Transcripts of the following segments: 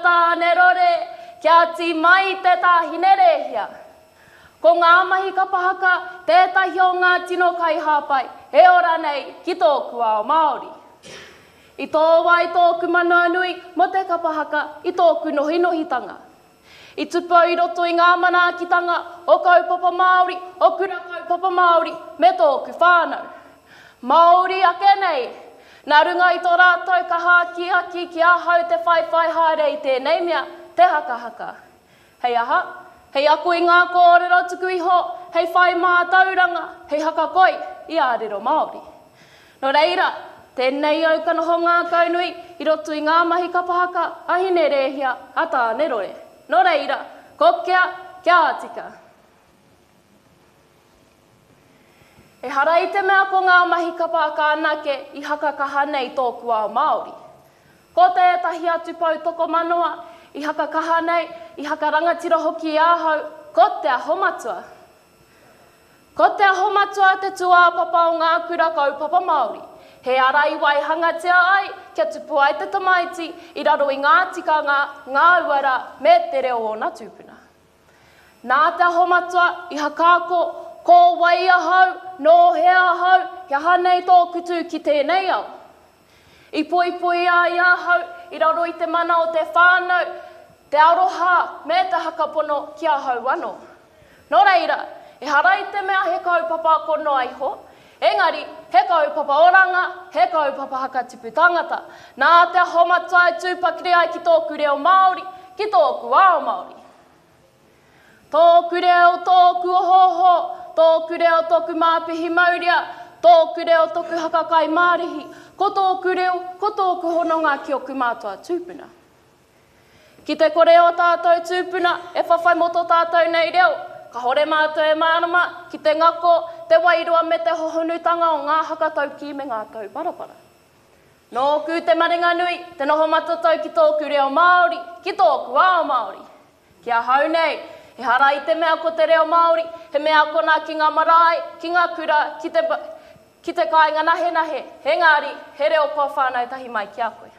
Tāne rore, kia tī mai te tāhine rēhia. Ko ngā mahi kapa haka tētahi o ngā tino kaihāpai e ora nei ki tōku ao Māori. I tō wai tōku manawanui mō te kapa haka i tōku nohinohitanga. I tupu au i roto i ngā manaakitanga o kaupapa Māori, o kura kaupapa Māori me tōku whānau. Māori ake nei! Nā runga i tō rātou kaha akiaki ki ahau te whaiwhai haere i tēnei mea, te hakahaka. Hei aha? Hei ako i ngā kōrero tuku iho, hei whai mātauranga, hei hakakoi i ā rero Māori. Nō reira, tēnei au ka noho ngākaunui i roto i ngā mahi kapa haka a Hine Rēhia, a Tāne Rore. Nō reira, kokea kia tika! Ehara i te mea ko ngā mahi kapa haka anake i haka kaha nei tōku ao Māori. Ko tētahi atu pou tokomanoa i haka kaha nei, i haka rangatira hoki i ahau, ko Te Aho Matua. Ko Te Aho Matua te tūāpapa o ngā kura kaupapa Māori. He ara i waihangatia ai kia tupu ai te tamaiti i raro i ngā tikanga, ngā uara me te reo o ōna tūpuna. Nā Te Aho Matua i hakaako ko wai ahau, nō hea ahau, he aha nei tōku tū ki tēnei ao. I poipoi ai ahau i raro i te mana o te whānau, te aroha me te hakapono ki ahau anō. Nō reira, ehara i te mea he kaupapa ako noa iho, engari he kaupapa oranga, he kaupapa hakatipu tangata. Nā Te Aho Matua e tū pakiri ai ki tōku reo Māori, ki tōku ao Māori. Tōku reo, tōku ohooho, tōku reo, tōku māpihi maurea, tōku reo, tōku haka kai mārihi, ko tōku reo, ko tōku hononga ki oku mātua tūpuna. Ki te kore ō tātou tūpuna e whawhai mō tō tātou nei reo, kahore mātou e mārama ki te ngako, te wairua me te hohonutanga o ngā haka taukī me ngā tauparapara. Nōku te maringanui te noho matatau ki tōku reo Māori, ki tōku ao Māori. Ki ahau nei, ehara i te mea ko te reo Māori he mea akona ki ngā marae, ki ngā kura, ki te, ki te kāinga nahenahe, engari, he reo kua whānau tahi mai ki a koe.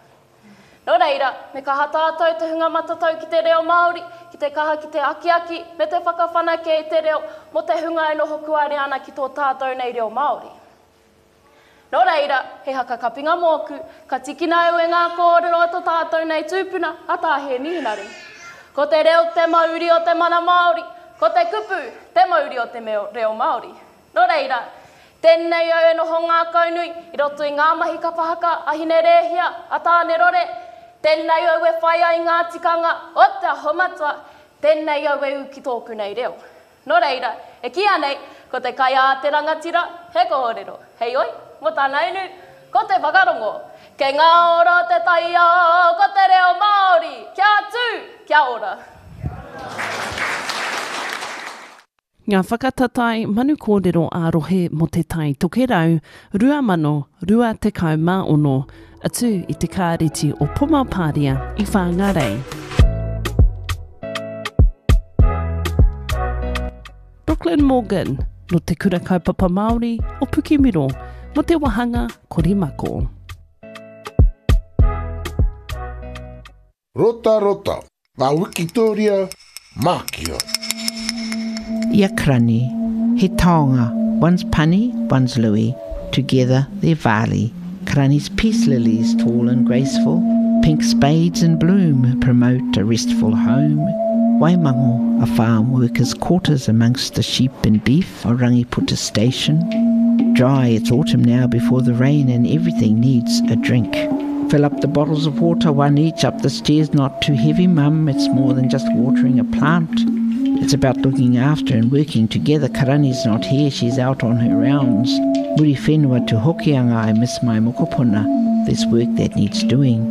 Nō reira, me kaha tātou te hunga matatau ki te reo Māori, ki te kaha ki te akiaki me te whakawhanake i te reo mō te hunga e noho kuare ana ki tō tātou nei reo Māori. Nō reira, he haka kapinga mōku, ka tikina au e ngā kōrero a tō tātou nei tūpuna, a Tā Hēmi Henare. Ko te reo te mauri o te mana Māori, ko te kupu te mauri o te reo Māori. Nō reira, tēnei au e noho ngākaunui i roto i ngā mahi kapa haka a Hine Rēhia, a Tāne Rore, tēnei au e whai ai ngā tikanga o Te Aho Matua, tēnei au e ū ki tōku nei reo. Nō reira, e kīia nei, ko te kai a te rangatira, he kōrero. Heoi, mō tāna inu, ko te whakarongo. Kei ngā ora o te taiao, ko te reo Māori! Kia tū! Kia ora! Ngā whakatatae manu kōrero ā-rohe mō Te Tai Tokerau 2026, atu i te Kāreti o Pomapāria i Whāngārei. Brooklyn Morgan, nō Te Kura Kaupapa Māori o Pukemiro, mō te wāhanga Korimako. Rotarota, ngā wikitōria mākia. I a Krani, he taonga, one's Pani, one's Louis, together they're Vali. Krani's peace lilies, tall and graceful, pink spades in bloom promote a restful home. Waimango, a farm worker's quarters amongst the sheep and beef, o Rangiputa Station. Dry, it's autumn now before the rain and everything needs a drink. Fill up the bottles of water, one each, up the stairs, not too heavy, mum. It's more than just watering a plant. It's about looking after and working together. Karani's not here, she's out on her rounds. Muri whenua to Hokianga, I miss my mokopuna. There's work that needs doing.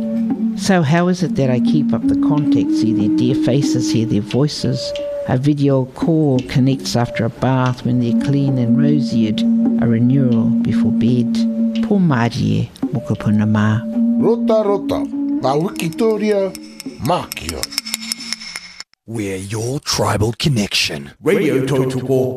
So how is it that I keep up the contact, see their dear faces, hear their voices? A video call connects after a bath when they're clean and rosy-eared, a renewal before bed. Pō mārie, mokopuna mā. Rotarota, ngā wikitōria mākia. We're your tribal connection. Radio Tautoko.